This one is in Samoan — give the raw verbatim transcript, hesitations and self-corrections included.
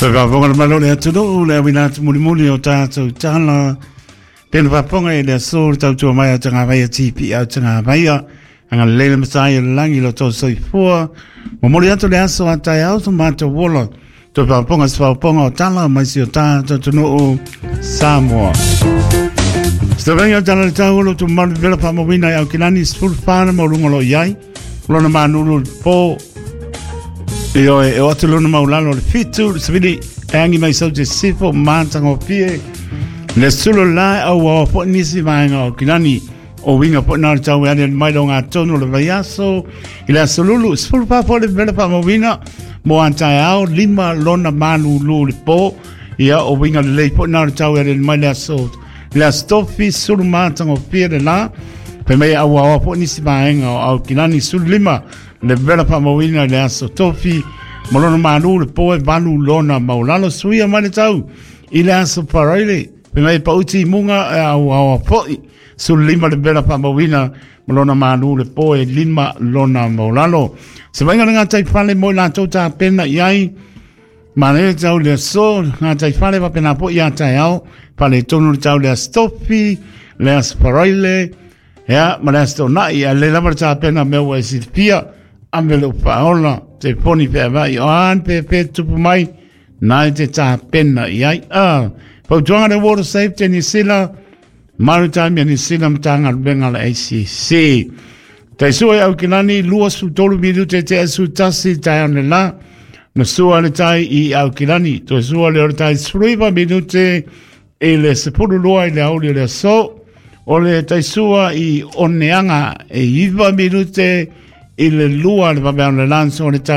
Toe faafofoga le malo le atunuu le auina atu mulimuli o tatou tala. Pena faafofoga i le aso le tautua mai a tagavaia T P au tagavaia. Agalelei le matai o le lagi lo tau soifua. Momoli atu le aso a taeao so matou ola. Toe faafofoga se faafofoga o tala mai si o tatou atunuu Samoa. Sitavenga o tala le tau o tu malu vela faamauina i Aukilani sefulu fa na mauluga o lo o i ai. Lona manulu le po. Io e o atu lona maulalo le fitu, le savili e angi mai sau te sifo mātangofie. Le sulu la au au po nisi vaenga o Aukilani. O winga po nā le tau e ane mai lo ngā tonu le vaiaso. I le aso lulu, sefulu fa po le vela faamauina. Mo antae ao, lima lona manulu le po. Ia o winga le lei po nā le tau e ane mai le aso. Le aso tofi, sulu mātangofie le la. Pe mei au au po nisi vaenga o Aukilani sulu lima. Le vela faamauina le aso tofi. Ma lona manu le po e valu lona maulalo suia mai le tau. I le aso paraile. Pe mei pauti i munga e au au poi. Sulu lima le vela faamauina. Ma lona manu le po e lima lona maulalo. Se vainga le ngā taifale mo i lātou tā pena i ai. Ma le tau le aso. Ngā taifale wa pena po i a tai ao. Pale tonu le tau le aso tofi. Le aso paraile. Ea, ma le aso nai. A le lava le tā pena mea ua e silipia. Ame le upaola, te poni pea vai o an pe pe tupu mai, nai te tā pena i ai. Ah, pautuanga le Water Safety New Zealand, Maritime New Zealand matanga luenga le A C C. Te sua e Aukilani, lua su tolu minute te asu tasi tai ane la, na sua le tai i Aukilani. Toe sua le o le tai sruiva minute e le sepulu loa i le auli le aso, o le tai sua i oneanga e iwa minute i le lua le vaveao le lanso o le tai